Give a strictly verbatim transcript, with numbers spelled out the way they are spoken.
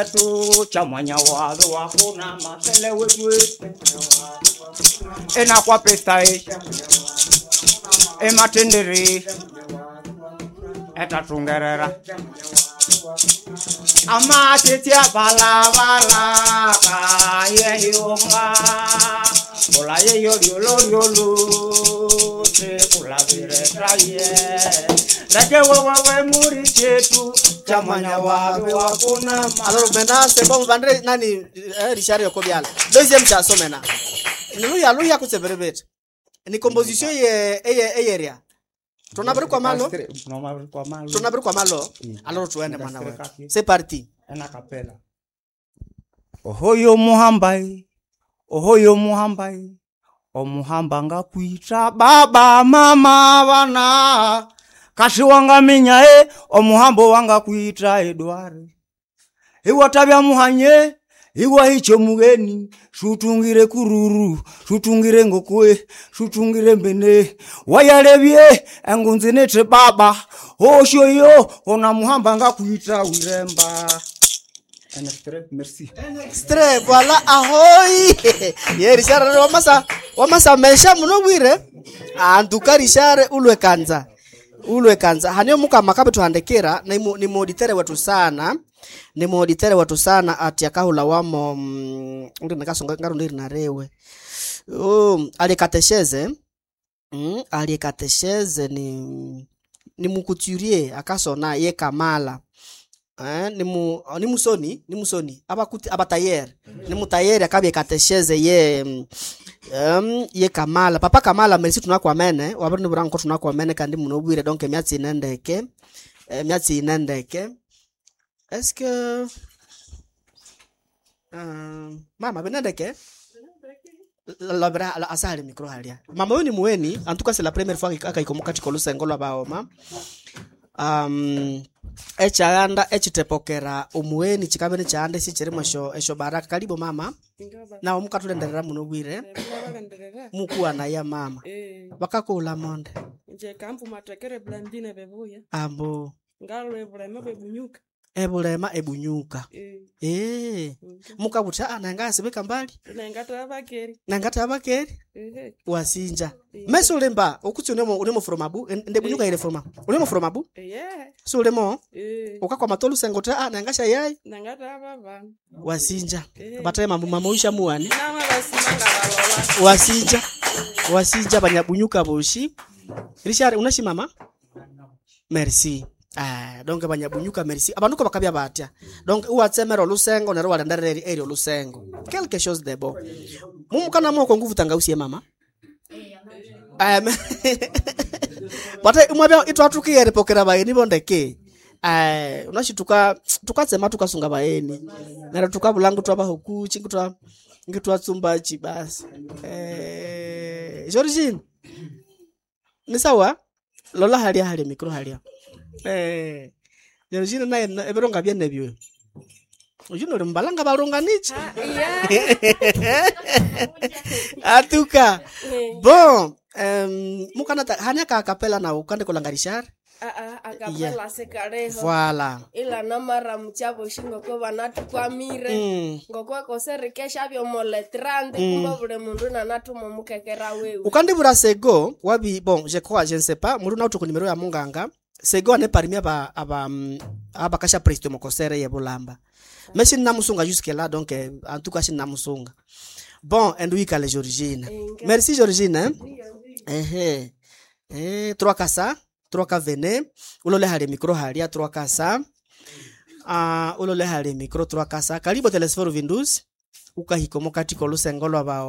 Wetu cha mwanya wazo wakuna masele wetu enakwa pesa e ematendere etatungerera amatetya balabala kayeyonga kula yeyo lyolo lyolo tekulaviretaye leke wewewe muri chetu cha mwanya wazo wakuna Alors maintenant, c'est bon, Vandré, nani, eh, Richard Yokobiala. Deuxième chanson maintenant. Niluya luya kutseberebet. Ni composition ye eye eyeria. Tunabiri kwa malo. Tunabiri kwa malo. Alors tuende mwana wetu. C'est parti. Ena kapela. Ohoyo muhambai, ohoyo muhambai, omuhamba ngakwita baba mama bana kashi wangaminya e omuhambo wangakwita Edward iwa tabya muhanye iwa hicho mugeni shutungire kururu shutungire ngokwe shutungire mbene wayalebye engunzi nete baba oshoyo ona muhamba ngakwita wiremba. Un extrait, merci. Un extrait, voilà, ahoy. Ye Richard wamasa wamasa mesha muno bwire. En tout cas Richard ulwe kanza. Ulwe kanza. Hanyo muka makabe tuhandekera na ni moditere wetu sana. Ni moditere wetu sana ati akahula wamo mm, uri nakasonga ngarundi narewe. Oh, alikatesheze. Mm, alikatesheze ni ni mukuturier akasona ye Kamala. Eh, ni mu ni musoni ni musoni abakuti abatayer ni mutayeri akabye katesheze ye um, ye Kamala papa Kamala merci tunakwamene wabari niburango tunakwamene kandi munobwire donc emyatsi inendeke emyatsi inendeke est-ce que um, mama binendeke labra la asali micro halia mama huyu ni muweni en tout cas c'est la première fois akaikomoka katika lusengo lwa baoma um echaanda echitepokera omuweni chikabe chaanda sichirimo esho esho baraka karibu mama na omukatulenderera muno bwire mukuwa naye mama Eh, bakakula monde nje kampu matekere blandine bebuya ambo ngalwe bulema bwebunyuka ebulema ebunyuka eh eh mukabuta ananga asibika mbali nengata bakeri nangata abakeri ehe wasinja meso ulemba okutsi unemo unemo fromabu ndebunyuka ile froma unemo fromabu eye so ulemo eh ukakwama tolusengo ta anangasha yai nangata babana wasinja Eh. bataye mambo mamoisha muwane nama basimanga balola wasinja wasinja banyabunyuka boshi Richard unashi mama merci ah donc banyabunyuka merci abanuko bakabya batya donc uwatsemera olusengo nero walenderera eri olusengo quelque chose de bon mumukana moko nguvu tangausie mama um, bate umwabya itwatukiyere pokera bayeni bondeke eh unashi tuka tukatsema tukasunga bayeni nero tukabulangu twabahukuchi ngitwa ngitwatsumbachi basi eh Georgine ni sawa lola halia halia mikro halia eh Georgine naye na- ebironga byenebyo ujuno uri mbalanga balunganichi atuka bon um, mukana ta- hania ka kapela na ukande kolanga Richard Ah, ah, akapela sekareho voilà ila namara muchavo ngoko vanatukwamire mm. ngoko akoserekesha vyomoletrande kumba vule mundu nanatuma mukekera wewe ukandibura sego wabi bon je crois je ne sais pas muri nautu ku numero ya munganga sego ane parmi aba aba mm, abakasha presto mokosere ye bulamba mais sinamusunga jusque là donc eh, en tout cas sinamusunga bon enduikale Georgine merci Georgine hein? ehe eh trois kasa trois ka vene ulole hali micro halia trois kasa ah ulole hali micro trois kasa karibu telesforo vindus ukahikomo katiko lusengo lwa bao